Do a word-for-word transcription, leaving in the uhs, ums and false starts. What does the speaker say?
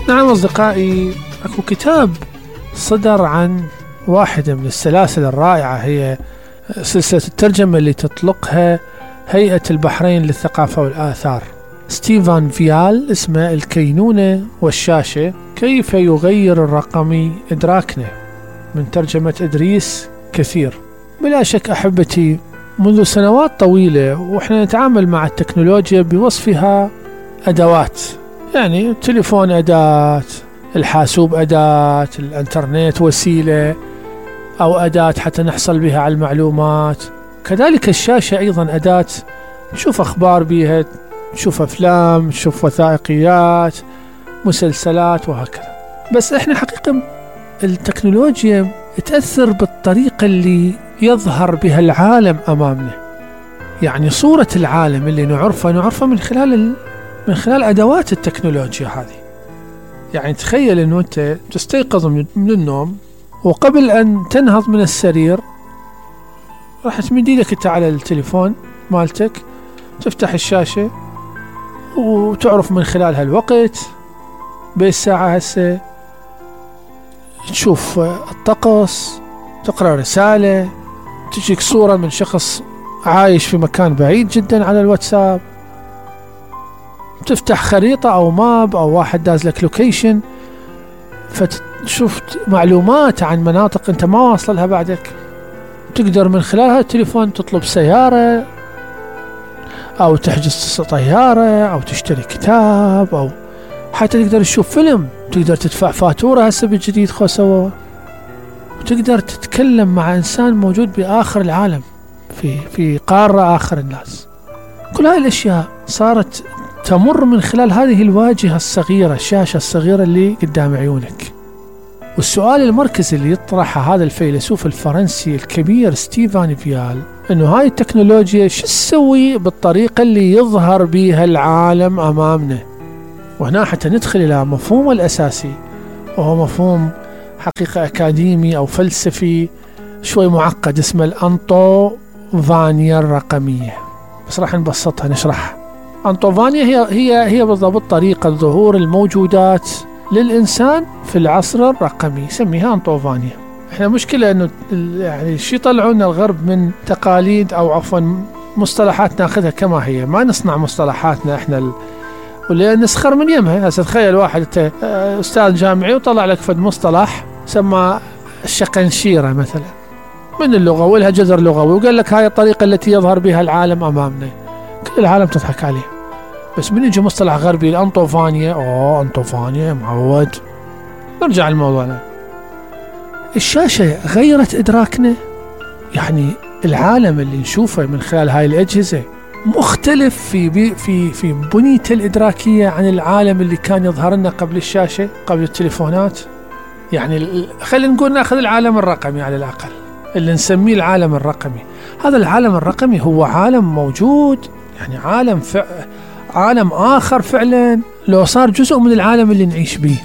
نعم أصدقائي، أكو كتاب صدر عن واحدة من السلاسل الرائعة، هي سلسلة الترجمة اللي تطلقها هيئة البحرين للثقافة والآثار. ستيفان فيال اسمه الكينونة والشاشة، كيف يغير الرقمي إدراكنا، من ترجمة إدريس كثير. بلا شك أحبتي، منذ سنوات طويلة وإحنا نتعامل مع التكنولوجيا بوصفها أدوات، يعني التليفون أداة، الحاسوب أداة، الانترنت وسيلة أو أداة حتى نحصل بها على المعلومات. كذلك الشاشة أيضا أداة، نشوف أخبار بها، نشوف أفلام، نشوف وثائقيات، مسلسلات وهكذا. بس إحنا حقيقة التكنولوجيا تأثر بالطريقة اللي يظهر بها العالم أمامنا، يعني صورة العالم اللي نعرفها نعرفها من خلال من خلال أدوات التكنولوجيا هذه. يعني تخيل أنه أنت تستيقظ من النوم، وقبل أن تنهض من السرير راح تمد يدك أنت على التليفون مالتك، تفتح الشاشة وتعرف من خلالها الوقت، بالساعة هسه تشوف الطقس، تقرأ رسالة، تجيك صورة من شخص عايش في مكان بعيد جدا على الواتساب، تفتح خريطة أو ماب أو واحد داز لك لوكيشن، فتشوف معلومات عن مناطق أنت ما واصل لها بعدك. تقدر من خلالها التليفون تطلب سيارة أو تحجز طيارة أو تشتري كتاب، أو حتى تقدر تشوف فيلم، تقدر تدفع فاتورة هسه بالجديد خو سوا، وتقدر تتكلم مع إنسان موجود بآخر العالم، في في قارة آخر الناس. كل هاي الأشياء صارت تمر من خلال هذه الواجهة الصغيرة، الشاشة الصغيرة اللي قدام عيونك. والسؤال المركزي اللي يطرحه هذا الفيلسوف الفرنسي الكبير ستيفان فيال، انه هاي التكنولوجيا شو تسوي بالطريقة اللي يظهر بها العالم امامنا. وهنا حتى ندخل الى مفهوم الاساسي، وهو مفهوم حقيقة اكاديمي او فلسفي شوي معقد، اسمه الأنطوفانيا الرقمية. بس راح نبسطها نشرحها. أنطوفانيا هي هي هي بالضبط طريقة ظهور الموجودات للإنسان في العصر الرقمي، يسميها أنطوفانيا. احنا مشكلة انه يعني شي يطلعونا الغرب من تقاليد او عفوا مصطلحات ناخذها كما هي، ما نصنع مصطلحاتنا احنا ال... واللي نسخر من يمها. هسه تخيل واحد انت استاذ جامعي وطلع لك فد مصطلح سمى الشقنشيرة مثلا من اللغة، ولها جذر لغوي، وقال لك هاي الطريقة التي يظهر بها العالم امامنا. كل العالم تضحك عليه. بس من يجي مصطلح غربي الأنطوفانيا، اوه أنطوفانيا معود. نرجع لموضوعنا. الشاشة غيرت إدراكنا، يعني العالم اللي نشوفه من خلال هاي الأجهزة مختلف في في في بنيته الإدراكية عن العالم اللي كان يظهر لنا قبل الشاشة، قبل التليفونات. يعني خلينا نقول ناخذ العالم الرقمي على الأقل، اللي نسميه العالم الرقمي. هذا العالم الرقمي هو عالم موجود، يعني عالم فع... عالم آخر فعلا، لو صار جزء من العالم اللي نعيش به.